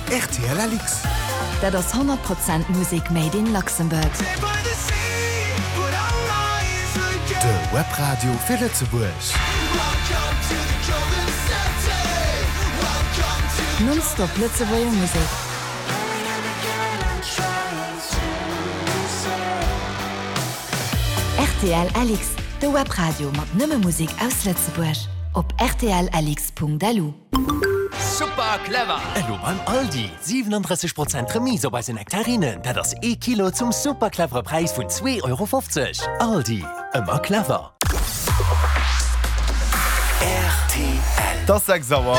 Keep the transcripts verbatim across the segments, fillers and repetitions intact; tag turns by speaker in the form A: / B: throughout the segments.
A: R T L L X.
B: Dat ass honnert Prozent Musek made in Luxembourg.
A: De Webradio fir Lëtzebuerg.
B: Nonstop Lëtzebuerger Musek. R T L L X, de Webradio mat nëmme Musek aus Lëtzebuerg. Op R T L L X Punkt L U.
C: Super clever!
D: Elo beim Aldi, siwenandrësseg Prozent Remise op eise Nektarinen. Dat ass ee Kilo zum super clevere Präis vun zwee Euro fofzeg. Aldi, ëmmer clever.
A: R T L.
E: Et ass sechs Auer.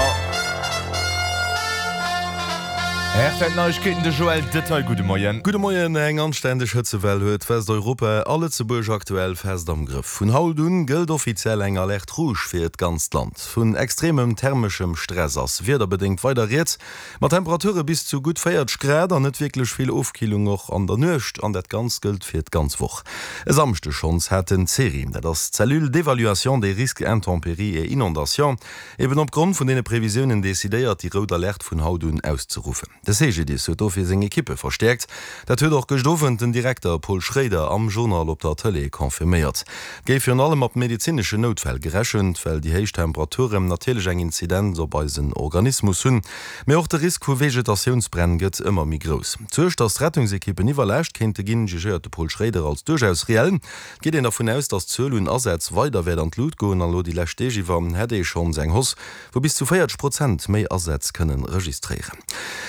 E: R T L Neiegkeeten, de Joël Detail, gudde Moien.
F: Gudde Moien. Eng anständeg Hëtzewell huet Westeuropa a Lëtzebuerg aktuell fest am Grëff. Vun haut un gëllt offiziell eng Alerte rouge fir d'ganzt Land. Vun extremem thermeschem Stress ass wiederbedéngt weider rieds, mat Temperature bis zu gutt véierzeg Grad an net wierklech vill Ofkillung och an der Nuecht. An dat Ganzt gëllt fir d'ganz Woch. E Samschdeg schonns hat den CERI, dat ass d'Cellule d'évaluation des risques intempéries et inondations, eben opgrond vun deene Previsiounen decidéiert, déi rout Alerte vun haut un auszeruffen. De C G D I S huet dofir seng Ekippe verstäerkt. Dat huet och gëscht Owend den Direkter Paul Schroeder am Journal op der Tëlee confirméiert. Et géif virun allem mat medezineschen Noutfäll gerechent, well déi héich Temperaturen natierlech eng Inzidenz op eisen Organismus hunn. Mee och de Risk vu Vegetatiounsbränn gëtt ëmmer méi grouss. D'Suerg, datt d'Rettungsekippen iwwerlaascht kéinte ginn, jugéiert de Paul Schroeder als duerchaus reell. Et geet een dervun aus, datt d'Zuel un Asätz weider wäert an d'Lut goen an elo déi lescht Deeg iwwer hätt ee schonns eng Hausse vu bis zu véierzeg Prozent méi Asätz kënnen registréieren.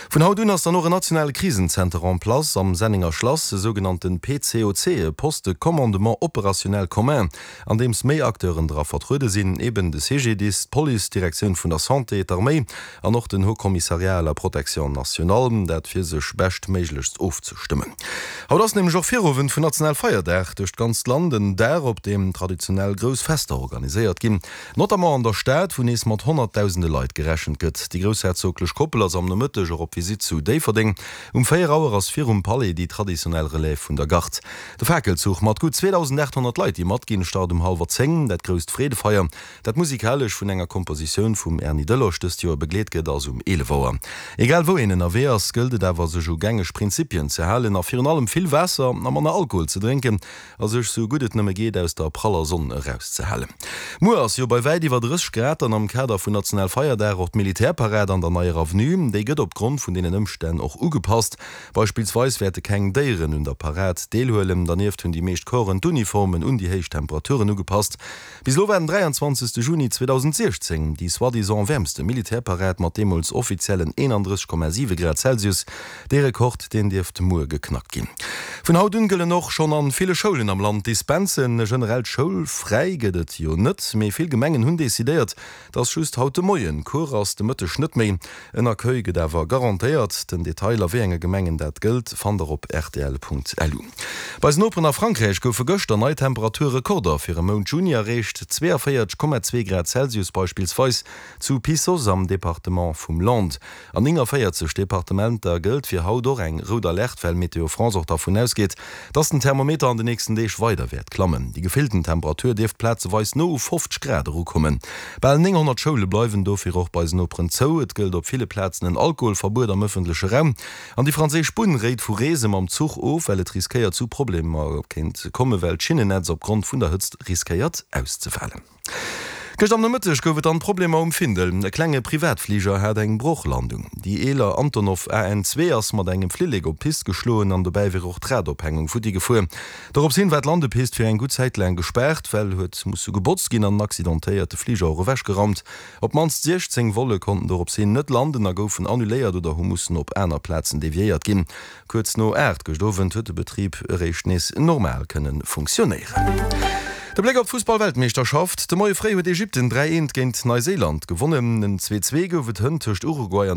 F: Vun haut un ass dann och en nationale Krisenzenter en place am Sennenger Schlass, e sougenannte P C O C, e Poste de commandement opérationnel commun, an deems méi Acteuren dra vertruede sinn, eben de C G D I S, d'Police, d'Direktioun vun der Santé, d'Arméi an och den Haut Commissariat à la protection nationale, dat fir sech beschtméiglechst ofzestëmmen. Haut ass nämlech och Virowend vun Nationalfeierdag duerch d'ganzt Land, en Dag op deem traditionell grouss Fester organiséiert ginn, notamment an der Stad, wou nees mat honnertdausende Leit gerechent gëtt. Déi groussherzoglech Koppel ass am Nomëtteg och op Visitt zu Déifferdeng. Um véier Auer ass virum Palais déi traditionell Relève vun der Garde. De Fakelzuch mat gutt zweedausendaathonnert Leit, déi matginn, start um hallwer zéng. Dat grousst Freedefeier, dat musikalesch vun enger Kompositioun vum Erny Delosch dëst Joer begleet gëtt, ass um eelef Auer. Egal wou een ënnerwee ass, gëllt et awer sech u gängeg Prinzipien ze halen a virun allem vill Waasser a manner Alkohol ze drénken a sech sou gutt et nëmme geet aus der praller Sonn erauszehalen. Muer ass jo bei wäit iwwer drësseg Grad dann am Kader vun Nationalfeierdag och d'Militärparad an der Neier Avenue. Déi gëtt opgrond vun deenen Ëmstänn och ugepasst. Beispillsweis wäerte keng Déieren un der Parad deelhuelen. Dernieft hunn déi meescht Corpsen d'Uniformen un déi héich Temperaturen ugepasst. Bis elo war den dräianzwanzegste Juni zweedausendsiechzéng déi soi-disant wäermste Militärparad mat deemools offiziellen eenandrësseg Komma siwe Grad Celsius. Dee Rekord, deen dierft muer geknackt ginn. Vun haut un gëllen och schonn an ville Schoulen am Land Dispensen. E generellt Schoulfräi gëtt et jo net, mee vill Gemengen hunn decidéiert, dass just haut de Moien Cours ass, de Mëtteg net méi. En Accueil gëtt awer garantéiert. Den Detail a wéi enge Gemengen dat gëllt, fannt der op rtl Punkt L U. Bei eisen Noperen a Frankräich goufe gëschter nei Temperaturrekorder fir e Mount Juni erreecht, zwéianvéierzeg Komma zwee Grad Celsius beispillsweis zu Pissos am Departement vum Landes. An nénganvéierzeg Departementer gëllt fir haut och eng rout Alerte, well Météo France och dervun ausgeet, dass den Thermometer an den nächsten Deeg weider wäert klammen. Déi gefillten Temperatur dierft plazeweis no u fofzeg Grad erukommen. Bal nénghonnert Schoule bleiwen dofir och bei eisen Noperen zou. Et gëllt op ville Plazen en Alkoholverbuet am ëffentleche Raum. An déi franséisch Bunn réit vu Reese mam Zuch of, well et riskéiert zu Problemer kéint kommen, well d'Schinnennetz opgrond vun der Hëtzt riskéiert auszefalen. Gëscht am Nomëtteg gouf et dann Problemer um Findel. E klenge Privatfliger hat eng Brochlandung. Déi eeler Antonov A N zwee ass mat engem Flillek op d'Pist geschloen an dobäi wier och d'Radophängung futti gefuer. Dorops hin war d'Landepist fir eng gutt Zäit laang gespaart, well huet musse gebotzt ginn an den accidentéierte Fliger och ewechgeraumt. Op d'mannst siechzéng Volle konnten dorops hin net landen a goufen annuléiert oder hu mussen op aner Plazen deviéiert ginn. Kuerz no aacht gëscht Owend huet de Betrib eréischt nees normal kënne funktionéieren. De Bléck op d'Fussball-Weltmeeschterschaft, De Moie fréi huet Ägypten dräi eent géint Neuseeland gewonnen. En zwee zwee gouf et hënt tëscht Uruguay an dem.